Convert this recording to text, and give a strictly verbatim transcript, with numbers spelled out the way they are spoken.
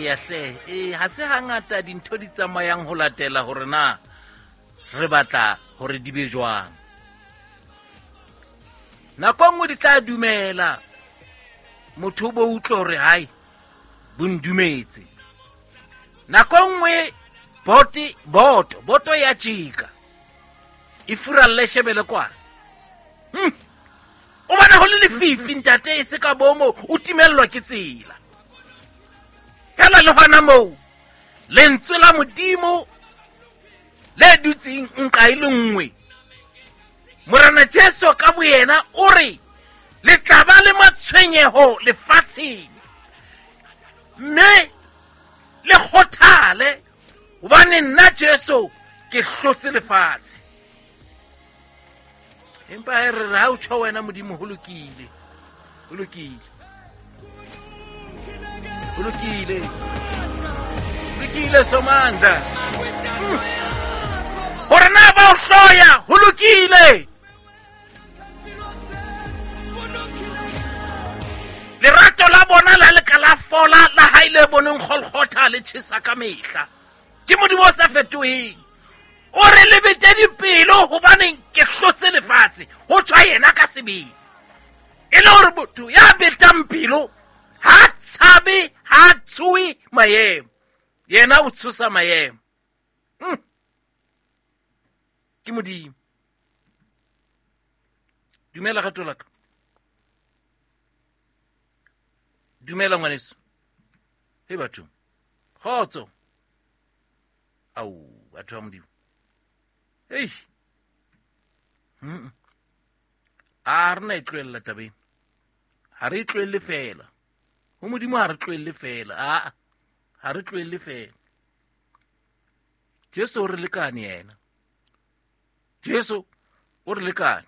Eya hle, e ha se hangata dintho di tsamayang ho latela hore na re batla hore di be jwang. Nako nngwe di tla dumela motho bo utlwe hore hai bo ndumetse. Nako nngwe bote boto boto ya tjika e furalle shebele kwa. Hmm. O bona ho le lefifi ntate e se ka bomo o timellwa ke tsela. Fela le hona moo lentswe la Modimo le dutseng nka e le nngwe. Morena Jesu ka boyena o re le tla ba le matshwenyeho lefatsheng, mme le kgothale hobane nna Jesu ke hlotse lefatshe. Empa he re re ha o tjho wena Modimo ho lokile, ho lokile, ho lokile, lokile Somandla. Hore na ba o hloya ho lokile. Lerato la bona la leka la fola la hae le boneng Golgotha le tjhesa ka mehla. Ke Modimo o sa fetoheng. O re le bete dipelo hobaneng ke hlotse lefatshe. Ho tjwa yena ka sebele. E le hore motho ya betang pelo ha tshabe, ha tshohe maemo. Yena o tshosa maemo. Mm. Ke Modimo. Dumela rato la ka. Dumela ngwaneso. He batho. Kgotso. Au, batho ba Modimo. Ei. Mm. A re na e tlohella tabeng. Ha re e tlohelle fela. Ho Modimo ha re tlohelle fela. A ha re tlohelle fela. Jesu o re lekane yena. Jesu o re lekane.